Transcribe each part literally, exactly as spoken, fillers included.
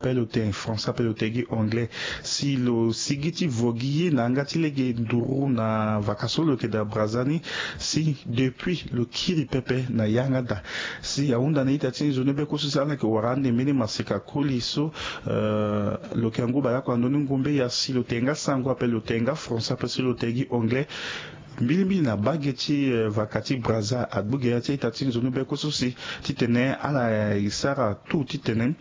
Ape lo tene français, ape lo tene gi anglais. Si lo sigi ti vo gi ye na yanga ti lege nduru na vaka so lo yeke daa Brazza ni, si depuis lo kiri pepe na yanga daa. Si ahunda na ita ti nzoni beko so si ala yeke wara ande mbeni maseka koli so, eh, lo yeke angu baleoko na ndö ni ngombe ya, si lo tene nga sango ape lo tene nga français ape si lo tene gi anglais. Mbilimbili na bage ti, eh, vaka ti Brazza, agbu gere ti a-ita ti nzoni beko so si titene ala, eh, sara tout titene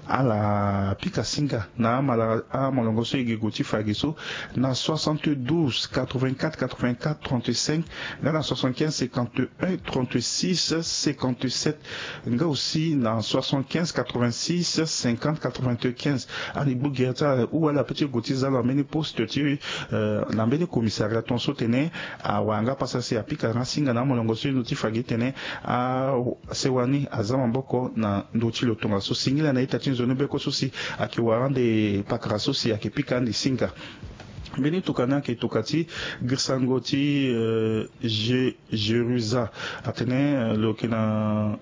ala pika singa na amala, amolongo so e gi gue ti fa gi so, na soixante-douze quatre-vingt-quatre quatre-vingt-quatre trente-cinq, nga na soixante-quinze cinquante et un trente-six cinquante-sept, nga aussi na soixante-quinze quatre-vingt-six cinquante quatre-vingt-quinze. Ani gbu gere ti ala, ou ala peut ti gue ti za lo na mbeni poste ti, euh, na mbeni commissariat tongaso tene awara nga pasa si apika nga singa na amolongo so e ndu ti fa gi tene asewa ni aza maboko na ndö ti lo tongaso. Singila na ita ti nzoni beko so si ayeke wara ande pakara so si ayeke pika ande singa. Mbeni tokua ni ayeke tokua ti girisango ti, euh, Je-, Jerusa. Atene, euh, lo yeke na,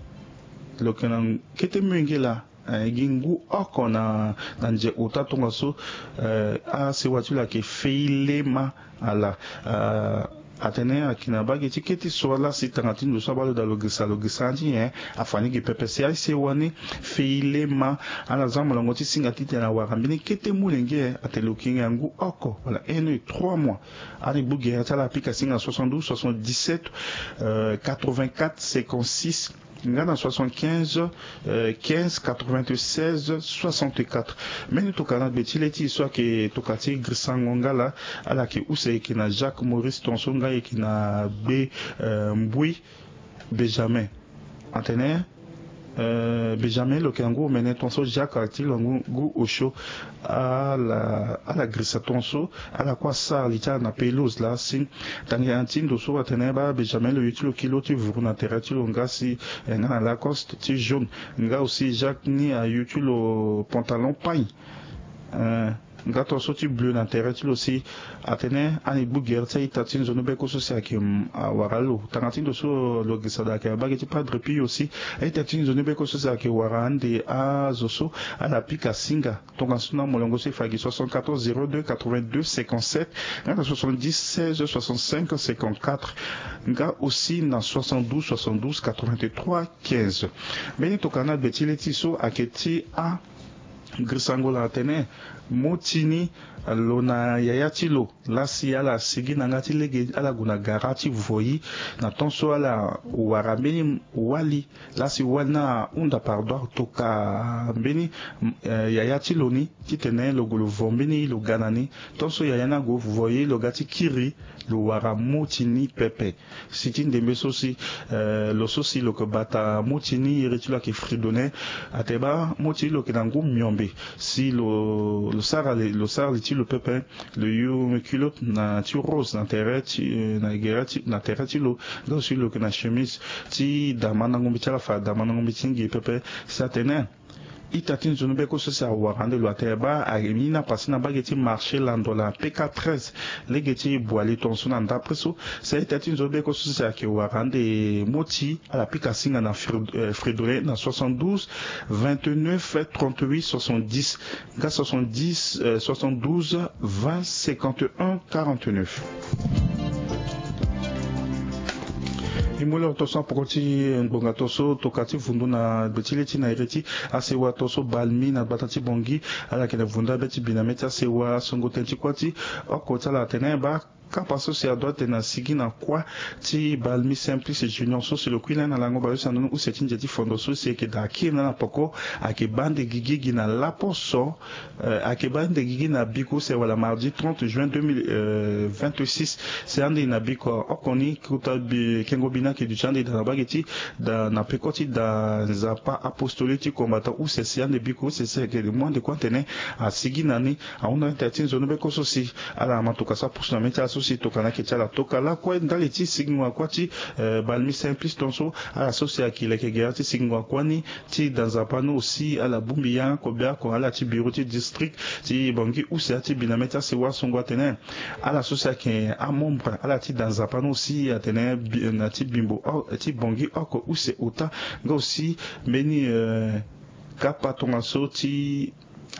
lo yeke na kete molenge laa, eh, e gi ngu oko na, na nze ota tongaso, eh, asewa ti lo ayeke Feilema ala, eh, atene ayeke na bage ti kete so ala si tanga ti ndo so abaa lo daa lo girisa, lo girisa ti nyen, afa ni gi pepe si asewa ni Feilema ala za molongo ti singa titene awara mbeni kete molenge, atene lo yeke ngia ngu oko wala un an trois mois. Ani gbu gere ti ala apika singa soixante-douze soixante-dix-sept, euh, quatre-vingt-quatre cinquante-six, nga na soixante-quinze, euh, quinze quatre-vingt-seize soixante-quatre. Mbeni tokua na gbe ti le ti e so ayeke tokua ti girisango nga laa, ala yeke use, e yeke na Jacques Maurice tongaso nga e yeke na gbe, euh, Mbui Benjamin. Atene, euh, Benjamin lo yeke na ngu omene tongaso, Jacques ti lo ngu, ngu osio. Ala, ala girisa tongaso, ala kue asara li ti ala na pelouse laa si tanga ti ndo so atene baa Benjamin lo yu ti lo kilo ti vuru na tere ti lo nga si, eh, nga na Lacoste ti jaune, nga aussi Jacques ni ayu ti lo pantalon pagne, eh, nga tongaso ti bleu na tere ti lo si atene ani gbu gere ti a-ita ti nzoni beko so si ayeke, mm, awara lo. Tanga ti ndo so lo girisa daa ayeke na bage ti Padre Pio si a-ita ti nzoni beko so si ayeke wara ande azo so ala pika singa tongaso na molongo so e fa gi soixante-quatorze zéro deux quatre-vingt-deux cinquante-sept, nga na soixante-dix seize soixante-cinq cinquante-quatre, nga aussi na soixante-douze soixante-douze quatre-vingt-trois quinze. Mbeni tokua na gbe ti le ti e so ayeke ti a girisango laa atene moti ni lo na yaya ti lo laa si ala sigi na yanga ti lege, ala gue na gara ti voi na temps so ala wara mbeni wali, laa si wali ni ahunda pardon, atokua mbeni, eh, yaya ti lo ni titene lo gue lo vo mbeni lo ga na ni. Temps so yaya ni ague vo ye, lo ga ti kiri, lo wara moti ni pepe. Si ti ndembe so si, eh, lo so si lo yeke bata moti ni, iri ti lo ayeke Fridolin. Atene baa moti ni lo yeke na ngu miombe. Si lo, lo sara li, lo sara li ti lo pepe, lo yu culotte na ti rose na tere ti, eh, na gere ti, na tere ti lo. Nga aussi lo yeke na chemise ti damandango mbi ti ala, fa damandango mbi ti ngi pepe. Si atene ita ti nzoni beko so si awara ande lo, atene baa aye ni na pase na mbage ti marché lando na P K treize, lege ti Boali tongaso na ndapre so. Si a-ita ti nzoni beko so si ayeke wara ande moti, ala pika singa na Fri-, eh, Fridolin na soixante-douze vingt-neuf trente-huit soixante-dix, nga soixante-dix, eh, soixante-douze vingt cinquante et un quarante-neuf. E mu loro tongaso na poko ti ngbonga tongaso, tokua ti vundu na gbe ti le ti na iri ti asewa tongaso Balmi na gbata ti Bangui. Ala yeke na vundu abe ti bi na mê ti asewa, songo tënë ti kuâ ti oko ti ala atene baa kapa so si adoit tene asigi na kuâ ti Balmi Simplice Junior so si lo kui lani na lango baleuse na ndoni use ti nze ti fondo so si e yeke daa kiri na ala na poko, ayeke baa ande gigi gi na laposo. Eh, ayeke baa ande gigi na biko use wala mardi trente juin deux mille vingt-six. Si ande na biko oko ni, kota bi, kengo bi ni ayeke duti ande daa na mbage ti daa na peko ti daa Nzapa apostolique ti combattant use. Si ande biko use si ayeke mu ande kue atene asigi na ni. Ahunda na ita ti nzoni beko so si ala ma tokua so apusu na mê ti ala so si tokua ni ayeke ti ala. Tokua lakue ndali ti sigingo na kuâ ti, eh, Balmi Simplice tongaso, ala so si ayeke leke gere ti sigingo na kuâ ni ti daa Nzapa ni aussi, ala bongbi yanga kobe oko, ala ti bureau ti district ti Bangui use ti bi na mê ti asewa songo atene ala so si ayeke amembre, ala ti daa Nzapa ni aussi atene bi-, na ti bimbo o-, ti Bangui oko use ota, nga aussi mbeni, eh, kapa tongaso ti